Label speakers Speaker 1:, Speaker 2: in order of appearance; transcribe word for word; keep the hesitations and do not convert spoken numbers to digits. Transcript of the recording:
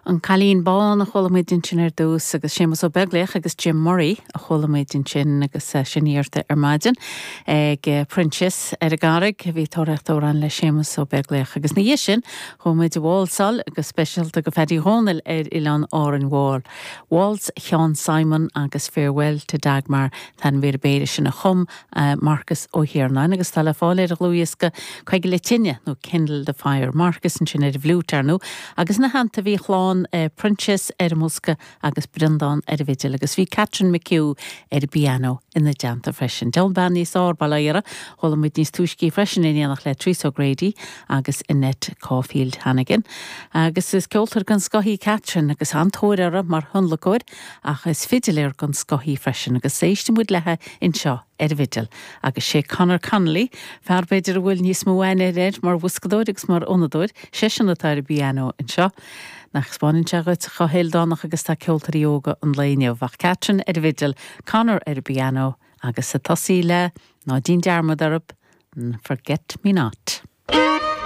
Speaker 1: An Cailín Bán a chuala muid ansin ar dtús agus Séamus Ó Beaglaoich agus Jim Murray a chuala muid ansin agus sin iarrta ar maidin ag Proinsias ar an gCarraig a bhí tóraíocht amhrán le Séamus Ó Beaglaoich agus ina dhiaidh sin chuaigh muid ag válsáil go speisialta go Phaddy Dhónaill ar Oileán Árainn Mhór. Waltz Sheán Simon agus Farewell to Dagmar an mhír b'fhéidir sin a chum uh, Marcus Ó hIarnáin agus tá le fáil ar a dhlúthdhiosca Coigil Tine nó Kindle the Fire Marcus ansin ar an bhfliúit ar ndóigh agus ina theannta bhí clann uh, Proinsias ar an mbosca agus Breandán ar an bhfidil agus bhí Catherine McHugh ar an bpianó ina dteannta freisin. Deon ban níos ár bailire chuala muid níos túisce freisin in éineacht le Treasa O'Grady agus Annette Caulfield Hannigan. Agus is ceoltóir den scoth í Catherine agus an-tóir uirthi mar thionlacóir ach is fidiléir den scoth í freisin agus éistfidh muid léi anseo ar an bhfidil. agus sé Conor Connolly, fear b'fhéidir a bhfuil níos mó aithne air mar bhoscadóir agus mar fhonnadóir, seisean atá ar an bpianó anseo. Nach spáin se go chohéildánach agus tá ceoltóirí óga an lae inniu ach Catherine ar an bhfidil, Conor ar an bpianó agus sa tosaí le ná déan dearmad orthu, Forget Me Not.